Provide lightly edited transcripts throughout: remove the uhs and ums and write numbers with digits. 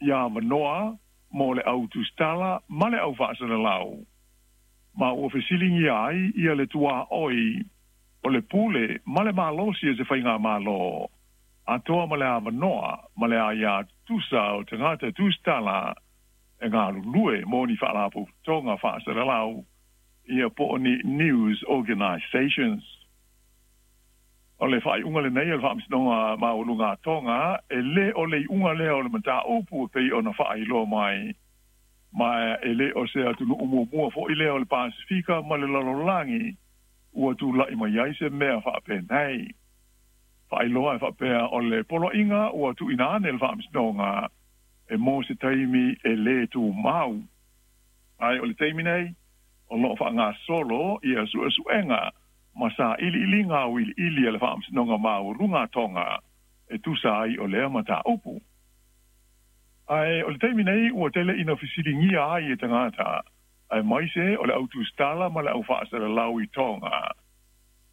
Ia avanoa mo le au tusitala ma le au faasalalau, ma ua fesiligia ai ia le tuaoi o le pule ma le malosi o se faigamalo atoa ma le avanoa ma le aia tutusa o tagata tusitala e galulue mo ni faalapotopotoga faasalalau ia po o ni news organisations. O le faaiuga lenei a le Faamasinoga Maualuga a Toga, e le o le iuga lea o le mataupu e pei ona faailoa mai, ma e le o se atunuu muamua foi lea o le Pasefika ma le lalolagi ua tulai mai ai se mea faapenei. Faailoa e faapea o le poloaiga ua tuuina ane e le Faamasinoga e mo se taimi e le tumau. Ae o le taimi nei, o lo o faagasolo ia suesuega ma sailiiliga auiliili a le Faamasinoga Maualuga a Toga e tusa ai o lea mataupu. Ae o le taimi nei ua tele ina fesiligia ai e tagata, aemaise o le au tusitala ma le au faasalalau i Toga,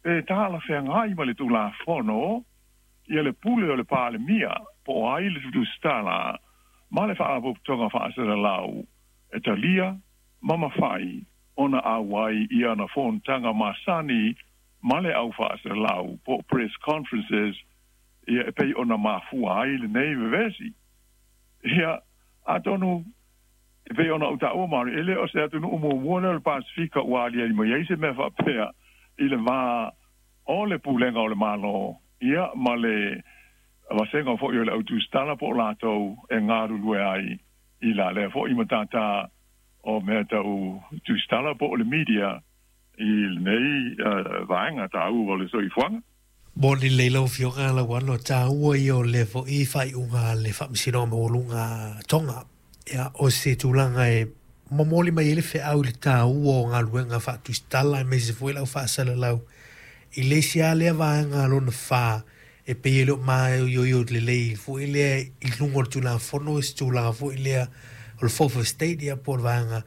pe talafeagai ma le Tulafono ia le pule o le Palemia po o ai le tusitala ma le Faalapotopotoga Faasalalau e talia ma mafai ona auai i ana fonotaga masani ma le au faasalalau po o press conferences ia e pei ona mafua ai lenei vevesi. Ia, atonu e pei ona ou taua maoli, e le o se atunuu muamua lea o le Pasefika ua aliali mai ai se mea faapea i le va o le pulega o le Malo ia ma le vasega foi o le au tusitala po o latou e galulue ai i la lea foi matata o mea tau tusitala po o le media i lenei vaega taua o le soifuaga. Moni lelei lau Afioga Lauano, taua ia o lea foi faaiuga a le Faamasinoga Maualuga a Tonga. Ia, o se tulaga e momoli mai ai le feau i le taua o galuega faatusitala aemaise foi le au faasalalau i le isi lava lea vaega lona fa e pei e le o maioio lelei foi lea i luga o le Tulafono i se tulaga foi lea o le Fourth Estate ia po o le vaega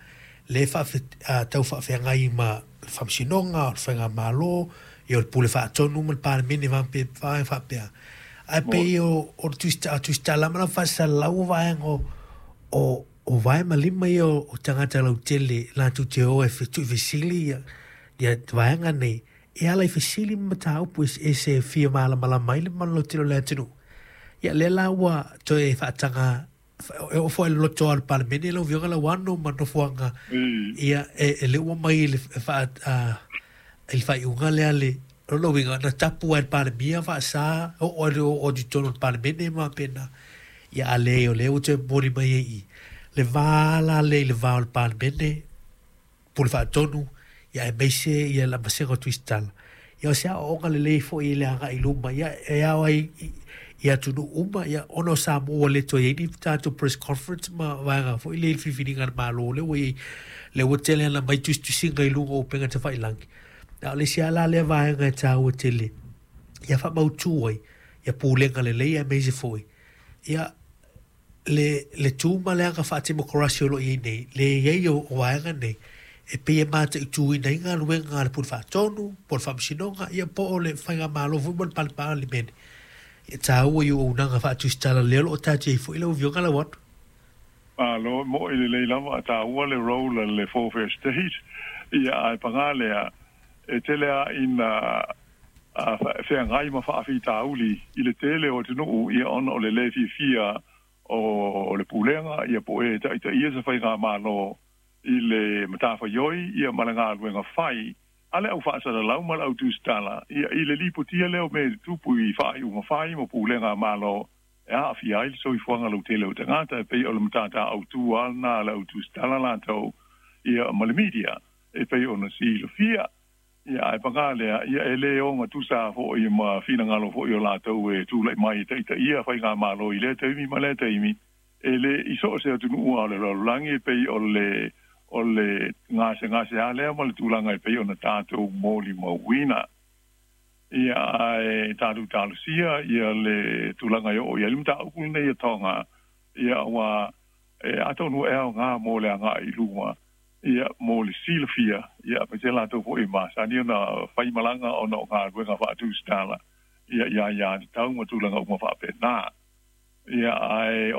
lea e tau faafeagai ma le Faamasinoga, o le Faigamalo, ia o le Pule Faatonu ma le Palemene vaega faapea. Ae pei o le tusitala ma le faasalalau o vaega o vae ma lima ia o tagata lautele latou te o e tuufesili ia vaega nei e ala i fesili ma mataupu eseese e fia malamalama ai le mamalu lautele o le atunuu. Ia lea la ua toe faataga e oo foi i le loto o le Palemene lau Afioga Lauano ma nofoaga ia e le ua mai i le i le faaiuga lea le lona uiga na tapu ai le Palemia faasa oo ai oo atu i totonu o le Palemene ma faapena. Ia a leai o lea ua toe momoli mai ai i le va la lea i le va o le Palemene Pule Faatonu, ia aemaise ia le vasega o Tusitala. Ia o se aoaoga lelei foi i le agai i luma, ia e ao ai i atunuu uma, ia ona o Samoa ua le toe i ai ni tatou press conference ma vaega foi lea i le filifiliga a le Malo lea ua i ai, lea ua tele ona aumai tusitusiga i luga o upega tafailagi. A o le isi lava la lea vaega e taua tele ia faamautu ai ia pulega lelei aemaise foi ia le tu ma le aga faatemokarasi o lo o i ai nei, le i ai o vaega nei, e pei e mataituina ai galuega a le Pule Faatonu, po o le Faamasinoga, ia po o le Faigamalo foi mo le Palemene. E taua i auaunaga faatusitala lea o lo o taatia ai foi lau Afioga Lauano. Malo, mo'i lelei lava a taua le role a le Fourth Estate, ia ae paga lea, e tele lava ina feagai ma faafitauli i le tele o atunuu ia ona o le lē fiafia o le pulega ia po o e taitaia se faigamalo i le matafaioi ia ma le galuega fai a le au faasalalau ma le au tusitala ia i le lipotia lea o mea e tutupu i faaiuga fai ma pulega a Malo e aafia ai le soifuaga lautele o tagata e pei o le matata autu lava lena a le au tusitala latou ia ma le media e pei ona silafia. Ia, ae paga lea, ia e le ogatusa foi ma finagalo foi o latou e tulai mai e taitaia faigamalo i lea taimi ma lea taimi, e le i so o se atunuu lava o le lalolagi e pei o le o le gasegase lava lea ma le tulaga e pei ona tatou molimauina. Ia, ae tatou talosia ia le tulaga e oo i ai le mataupu lenei a Tonga, ia aua e atonu e aoga mo le agai i luma ia mo le silafia, ia aemaise latou foi e masani ona fai malaga ona o galuega faatusitala, ia i aiatatau ma tulaga uma faapena. Ia, ae.